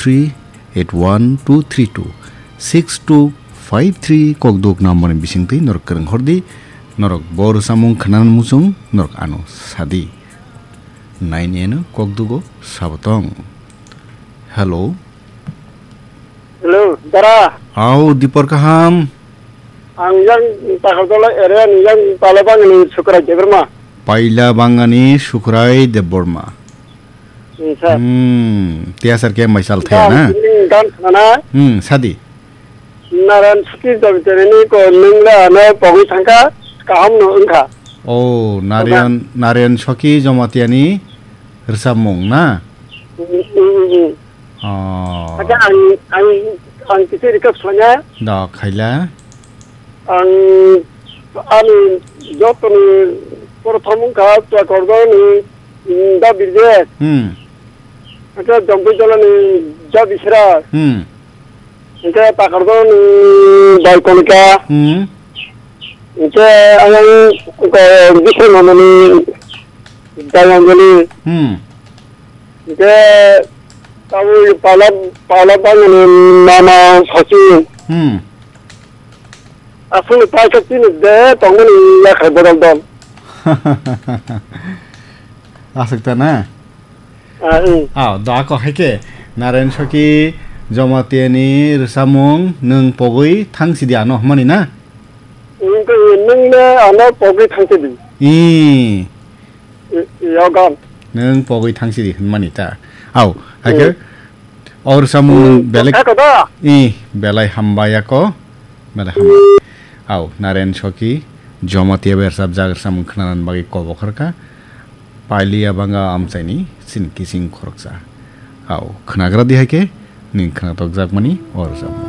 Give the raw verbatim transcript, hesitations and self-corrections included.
three eight one two three two six two five three kokduk number ni bisingtwi norok kwrwng hordi, norok bo rwchapmung khwnani muchung norok ano sadi. Naini eno kokdugo sabotong. Hello. Hello, dara. Au, Dipor kaham? Ang yang Takarjala area ni yang Pailabangani Sukrai Debbarma. Pailabangani Sukrai Debbarma. Hmm, sir. Hmm, tia sir ke maisal thaya na? Ang tini gan khana. Hmm, sadi. Naran Suki Jamitirani ko nungla ano pogwi thangka, kaham no wngkha. Oh, Narayan, Narayan Soki Jomatiani rwchapmung na? Hmm, hmm, hmm, hmm. Oh. Acha ang, ang, ang kisi request khlaiya. Da, khaila. Ang ani jotoni prothom wngkha Chakordoni, mm, Da Birje. Hmm. Acha Jompuijolani Da Bisra. Hmm. Hingke Takarjani Da Konika. Hmm. Hingke ayang ko Bisra Mamani Da Yangjali. Hmm. Hingke tabuk pala, pala bangni mama Sochi. Hmm. Aswkni paisa chini de tongmani yakhai bodol dol. Aswk ta na? Ah, hmm. Ah, da ko hai ke. Naren Soki Jomatiani rwchapmung nwng pogwi thang sidi ano hwnmani na? Nwng le ano pogwi thang sidi. Ih. I-, yogan. Nwng pogwi thang sidi hwnmani ta. Au, hai ke. Hmm. Or samung Hmm, belai kha ko da? I, belai hambai ako. Belai hambai. Au, Naren Soki, Jomatiya bersap jagar samung khnanan bagwi kobo kharka. Pailiya banga amchaini sin kising khoroksa. Au, khnagra di hai ke, ning khnatok jakmani or samung.